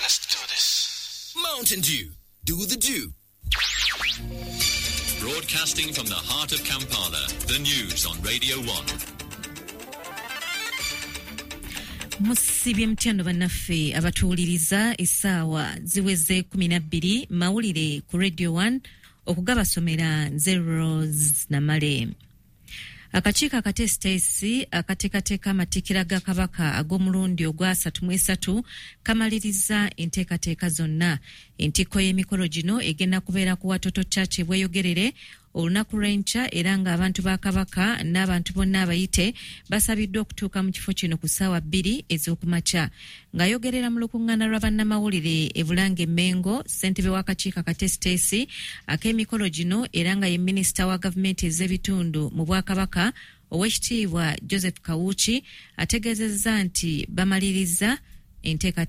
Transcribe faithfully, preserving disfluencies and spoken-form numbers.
Let's do this. Mountain Dew. Do the dew. Broadcasting from the heart of Kampala, the news on Radio one. Musibye mutya bannaffe abatuwuliriza? Essaawa ziweze kumi na bbiri, mawulire ku Radio one, okugabasomera nze Rose Namale. Akakiiko akateesiteesi akateekateeka amatikkira ga Kabaka ag'omulundi ogwa asatu mu esatu kamaliriza enteekateeka zonna. Entikko y'emikolo gino egenda kubeera ku Watoto Church e Bweyogerere olunaku lw'enkya, era ng'abantu ba Kabaka n'abantu bonna abayite basabiddwa okutuuka mu kifo kino ku ssaawa bbiri ez'okumakya. Ng'ayogerera mu lukuŋŋaana lwa bannamawulire e Bulange Mmengo, ssentebe w'akakiiko akateesiteesi ak'emikolo gino era nga ye minisita wa gavumenti ez'ebitundu mu Bwakabaka, Oweekitiibwa Joseph Kawuki, ategeezezza nti bamaliriza enteekateeka.